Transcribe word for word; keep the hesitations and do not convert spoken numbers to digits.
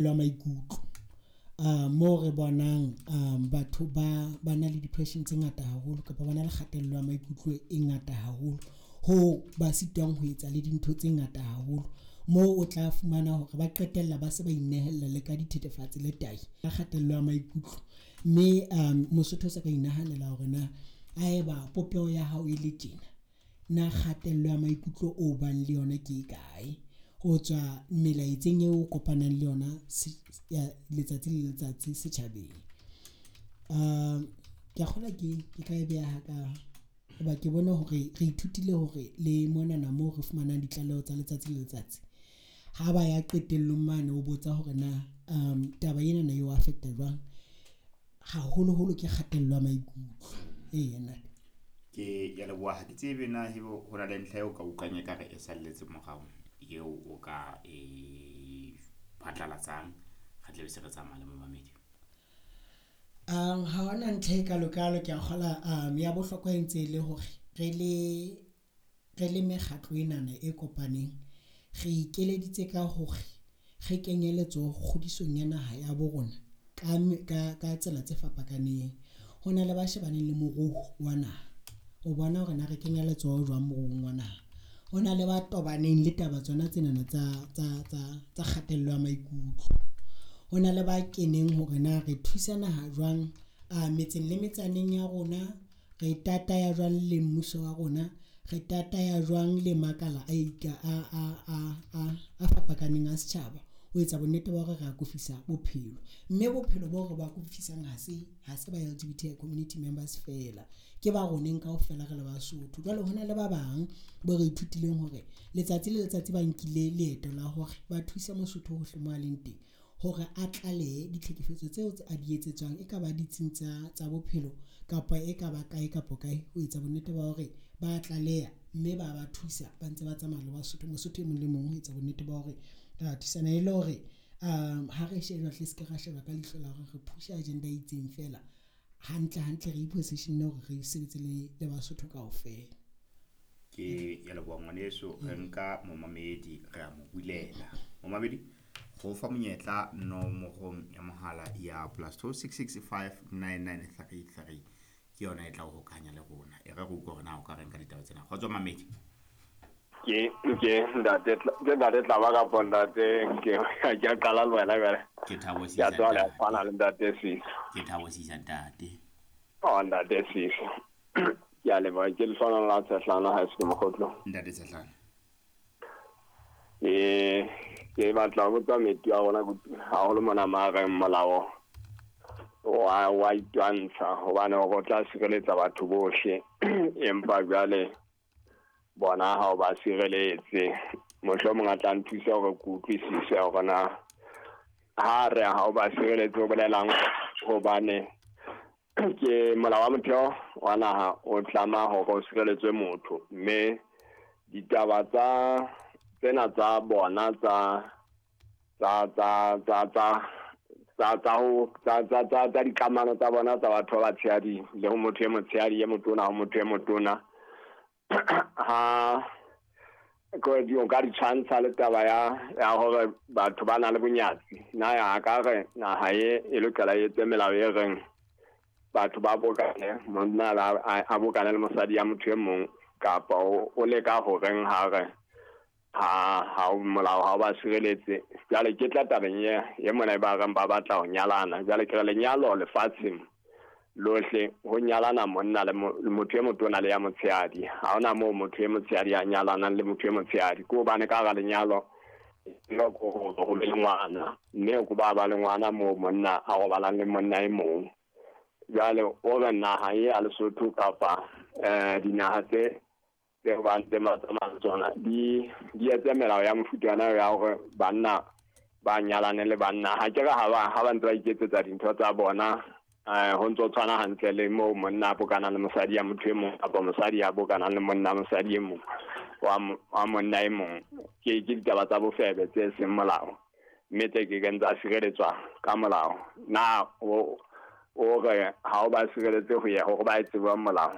Ya maikutlo moo re bonang batho ba ba na le depression tse ngata haholo kapa ba na le kgatello ya maikutlo e ngata haholo hoo ba sitwang ho etsa le dintho tse ngata haholo moo o tla fumana hore ba qetella ba se ba inehella le ka dithethefatsi le tahi ka kgatello ya maikutlo. Mme Mosotho o sa ka inahanela hore na haeba popeho ya hao e le tjena na kgatello ya maikutlo o bang le yona ke e kae ho tswa melaetseng eo o kopanang le yona letsatsi le letsatsi setjhabeng. Ke ya kgolwa ke ke tla e beha ka hoba ke bone hore re ithutile hore le monana moo re fumanang ditlaleho tsa letsatsi le letsatsi. Ha ba ya qetellong mane o botsa hore na taba ena na eo affect-a jwang, haholoholo ke kgatello ya maikutlo. Eya ntate. Ke ya leboha. Ha ke tsebe na ebe ho na le ntlha eo ka utlwang ekare e salletse morao eo o ka e phatlalatsang. Re tla be se re tsamaya le momamedi. Ha hona ntlha e kalokalo ke a kgola ya bohlokwa e ntse e le hore re le re le mekgatlo enana e kopaneng, re ikeleditse ka hore re kenye letsoho kgodisong ya naha ya bo rona ka ka ka tsela tse fapakaneng. Ho na le ba shebaneng le moruo wa naha o bona hore na re kenya letsoho jwang moruong wa naha. Ho na le ba tobaneng le taba tsona tsenana tsa tsa tsa tsa kgatello ya maikutlo. Ho na le ba keneng hore na re thusa naha jwang metseng le metsaneng ya rona, re tataya jwang le mmuso wa rona, re tataya jwang le makala a a a a a a fapakaneng a setjhaba ho etsa bonnete ba hore re akofisa bophelo. Mme bophelo boo re ba akofisang ha se ha se ba L_G_B_T_I community members feela, ke ba roneng kaofela re le Basotho. Jwale hona le ba bang bo re ithutileng hore letsatsi le letsatsi ba nkile leeto la hore ba thuse Mosotho hohle mo a leng teng hore a tlalehe ditlhekefetso tseo tse a di etsetswang. Ekaba ditsing tsa tsa bophelo kapa ekaba kae kapa kae ho etsa bonnete ba hore ba tlaleha mme ba ba thusa ba ntse ba tsamaya le Basotho. Mosotho e mong le mong ho etsa bonnete ba hore ra thusana e le hore ha re sheba hle se ke ra sheba ka leihlo la hore re push-a agenda e itseng feela hantle hantle, re i-position hore re sebetse le le Basotho kaofela. Ke ya leboha ngwaneso. Re nka momamedi re a mo bulela. Momamedi go fa monyetla nomorong ya mohala ya plus two six six five nine nine three three ke yona e tla o hokahanya le rona. E re re utlwe hore na o ka reng ka ditaba tsena. Kgotso mamedi. Ke ke ntate ke ntate Tlaba kapa ntate ke ke a qala le wena jwale. Ke Thabo Ke a Sisa tswa le ntate. tshwana le ntate Sisa. Ke Thabo Sisa ntate. Oh ntate Sisa. Ke a leboha, ke lehlohonolo la Tshehlana ha se ke mokgotlo. Ntate Tshehlana. Ke ke batla ho botsa metsi wa rona haholo mona ma reng molao wa wa itwantsha hobane hore o tla sireletsa batho bohle empa jwale bona ha o ba sireletse. Mohlomong a tla nthusa hore ke utlwisise hore na ha re ha o ba sireletse o bolelang, hobane ke molao wa motheo wa naha o tlama hore o sireletswe motho, mme ditaba tsa tsena tsa bona tsa tsa tsa tsa tsa tsa tsa ho tsa tsa tsa tsa dikamano tsa bona tsa batho ba batshehadi le ho motho e motshehadi e motona ho motho e motona ha ko di o ka di tshwantsha le taba ya ya hore batho ba na le bonyatsi. Na ya ka re naha e e lokela e etse melao e reng batho ba bokane, monna a a bokane le mosadi ya motho e mong, kapa o o leka ho reng ha re ha ha o molao ha o ba sireletse. Jwale ke tla tabeng e e mona e ba reng ba batla ho nyalana. Jwale ke re lenyalo lefatsheng lohle ho nyalana monna le motho e motona le ya motshehadi. Ha hona moo motho e motshehadi a nyalanang le motho e motshehadi, ke hobane ka hara lenyalo lo ko ho be le ngwana, mme ko ba ba le ngwana moo monna a robalang le monna e mong. Jwale o re naha e ya Lesotho kapa eh dinaha tse tse ba ntseng ba tsamaya tsona di di etse melao ya mofuta ona ya hore banna ba nyalane le banna. Ha ke re ha ba ha ba ntse ba iketsetsa dintho tsa bona eh ho ntso tshwana hantle le moo monna a bokanang le mosadi ya motho e mong kapa mosadi ya bokanang le monna mosadi e mong wa wa monna e mong. Ke ke ditaba tsa bofebe tse seng molao, mme tse ke keng tsa sireletswa ka molao. Na o o re ha o ba sireletse ho ya hore ba e tsebe molao?